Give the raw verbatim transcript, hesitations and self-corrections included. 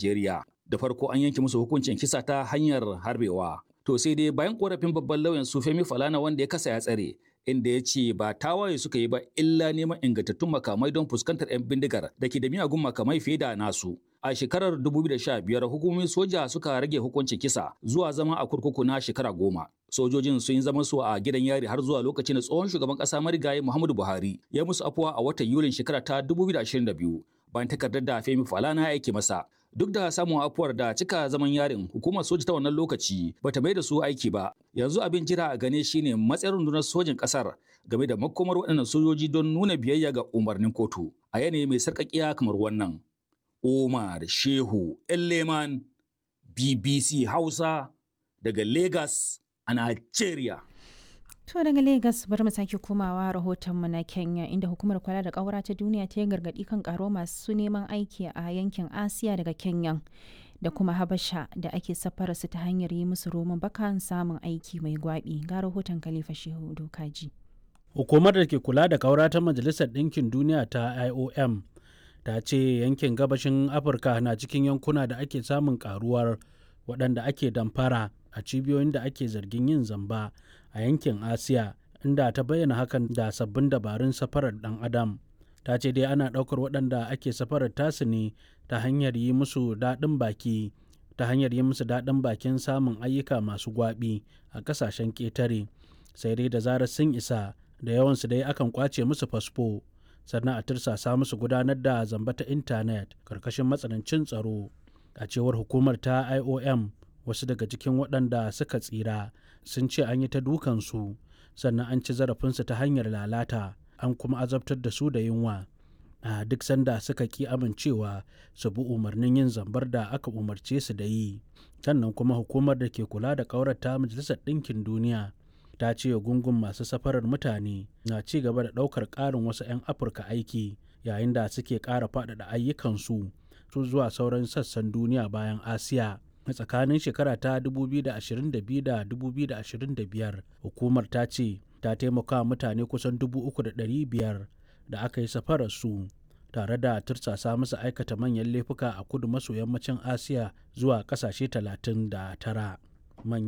Najeriya. Da farko an yanke musu hukuncin kisa ta hanyar harbewa. To sai dai bayan korafin babban lauyan su Femi Falana wanda ya kasa ya tsare inda ya ce ba tawaye suka yi ba illa neman ingantattun makamai don fuskantar 'yan bindigar da ke da miyagun makamai fiye da nasu. A shekarar dubu biyu da sha biyar hukumomin soja suka rage hukuncin kisa zuwa zama a kurkuku na shekara goma. Sojojin sun yi zaman su a gidan yari har zuwa lokacin da tsohon shugaban kasa marigayi Muhammadu Buhari ya musu afuwa a watan Yulin shekara ta dubu biyu da ashirin da biyu bayan takardar da Femi Falana ya aike masa. Duk da samun afuwar da cika zaman yarin, hukumar soja ta wannan lokaci bata mai da su aiki ba. Yanzu abin jira a gane shine matsayin rundunar sojin kasar game da makomar waɗannan sojoji don nuna biyayya ga umarnin kotu a yanayi mai sarƙaƙiya kamar wannan. Umar Shehu Elleman, B B C Hausa, daga Lagos a Nigeria. To daga Lagos bari mu sake komawa rahotonmu na Kenya, inda hukumar kula da ƙaura ta duniya ta yi gargaɗi kan ƙaro masu neman aiki a yankin Asiya daga Kenya da kuma Habasha da ake safara su ta hanyar yi musu roman bakan samun aiki mai gwabi. Ga rahoton Khalifa Shehu Dokaji. Hukumar da ke kula da ƙaura ta Majalisar Ɗinkin Duniya ta I O M ta ce yankin gabashin Afirka na cikin yankuna da ake samun karuwar waɗanda ake damfara a cibiyoyin da ake zargin yin zamba a yankin Asiya, inda ta bayyana hakan da sabbin dabarun safarar dan adam. Ta ce dai ana ɗaukar waɗanda ake safarar tasu ne ta hanyar yi musu daɗin baki ta hanyar yi musu daɗin bakin samun ayyuka masu gwaɓi a ƙasashen ƙetare. Sai dai da zarar sun isa, da yawansu dai akan ƙwace musu fasfo, sannan a tursasa musu gudanar da zamba ta intanet karkashin matsanancin tsaro. A cewar hukumar ta I O M, wasu daga cikin waɗanda suka tsira sun ce an yi ta dukansu, sannan an ci zarafinsu ta hanyar lalata, an kuma azabtar da su da yunwa a duk sanda suka ki amincewa su bi umarnin yin zambar da aka umarce su da yi. Sannan kuma hukumar da ke kula da ƙaurata Majalisar Ɗinkin Duniya ta ce gungun masu safarar mutane na ci gaba da ɗaukar ƙarin wasu 'yan Afirka aiki yayin da suke ƙara faɗaɗa ayyukansu su zuwa sauran sassan duniya bayan Asiya. A tsakanin shekara ta dubu biyu da ashirin da biyu da dubu biyu da ashirin da biyar, hukumar ta ce ta taimaka mutane kusan dubu uku da ɗari biyar da aka yi safarar su tare da tursasa musu aikata manyan laifuka a kudu maso yammacin Asiya zuwa ƙasashe talatin da tara. Manyan